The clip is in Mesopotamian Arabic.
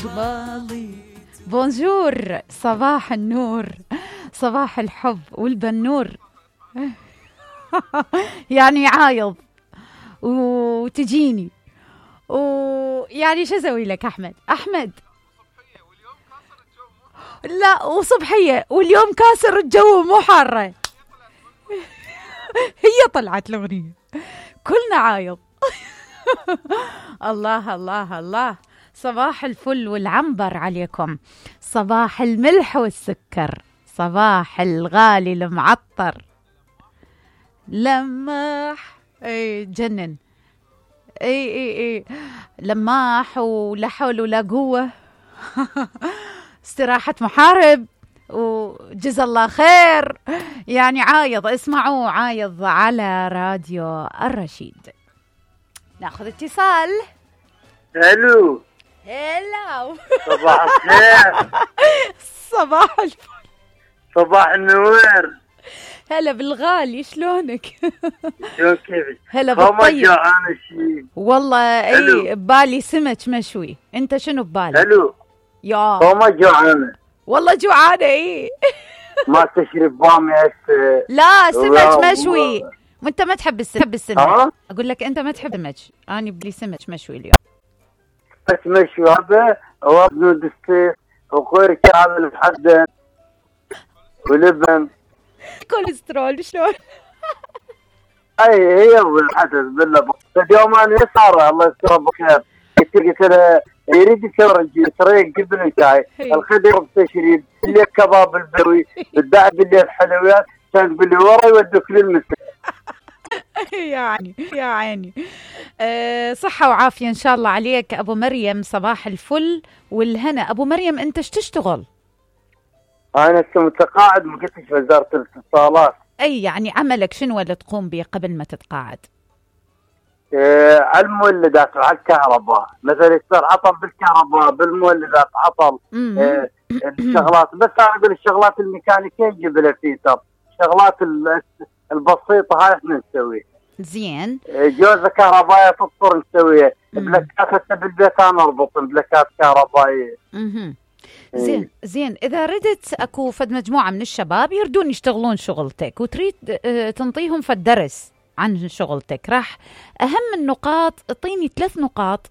قبالي. بونجور، صباح النور، صباح الحب والبنور. يعني عايض وتجيني ويعني شو اسوي لك احمد لا، وصبحيه واليوم كاسر الجو مو حاره. هي طلعت الاغنيه كلنا عايض. الله الله الله، صباح الفل والعنبر عليكم، صباح الملح والسكر، صباح الغالي المعطر. لماح اي جنن، اي لماح ولا حول ولا قوة. استراحة محارب وجزا الله خير. يعني عايض، اسمعوا عايض على راديو الرشيد. ناخذ اتصال. الو. هلا. صباح الخير. صباح الفل. صباح النور. هلا بالغالي، شلونك؟ شلون كيفك؟ هلا بالطيب. جوعان شيء والله اي ببالي سمك مشوي. انت شنو ببالك؟ الو. يا ما جوعانه والله جوعانه. اي ما تشرب بامي هسه؟ لا سمك مشوي. وانت ما تحب السمك. اقول لك انت ما تحب السمك، انا بلي سمك مشوي اليوم. بس مشوي هذا وبنود السيف وغير كامل محدد ولبن كوليسترول شلون؟ اي هي الحدث بالله. اليوم انا صار الله يستر بخير، قلت له يريد يسوي طريق جبن وشاي، الخدر بتشريد اللي كباب البروي بالدعم بالليل حلويات، كان باللي ورا يودوك للمسجد. يعني يا عيني. صحة وعافية إن شاء الله عليك أبو مريم، صباح الفل والهنا. أبو مريم أنت ايش تشتغل؟ أنا متقاعد مفتش وزارة الاتصالات. أي يعني عملك شنو اللي تقوم به قبل ما تتقاعد؟ على المولدات وعلى الكهرباء، مثلا يصير عطل بالكهرباء، بالمولدات عطل. الشغلات بس أنا أقول الشغلات الميكانيكية نجيب لها فيتر، الشغلات البسيطة هاي احنا نسويها. زين. جوزة كهربائية تضطر نسويها، بلاكات حتى بالبيت انا اربط بلاكات كهربائية. زين اذا ردت اكو فد مجموعة من الشباب يردون يشتغلون شغلتك وتريد تنطيهم فد درس عن شغلتك، راح اهم النقاط اعطيني 3 نقاط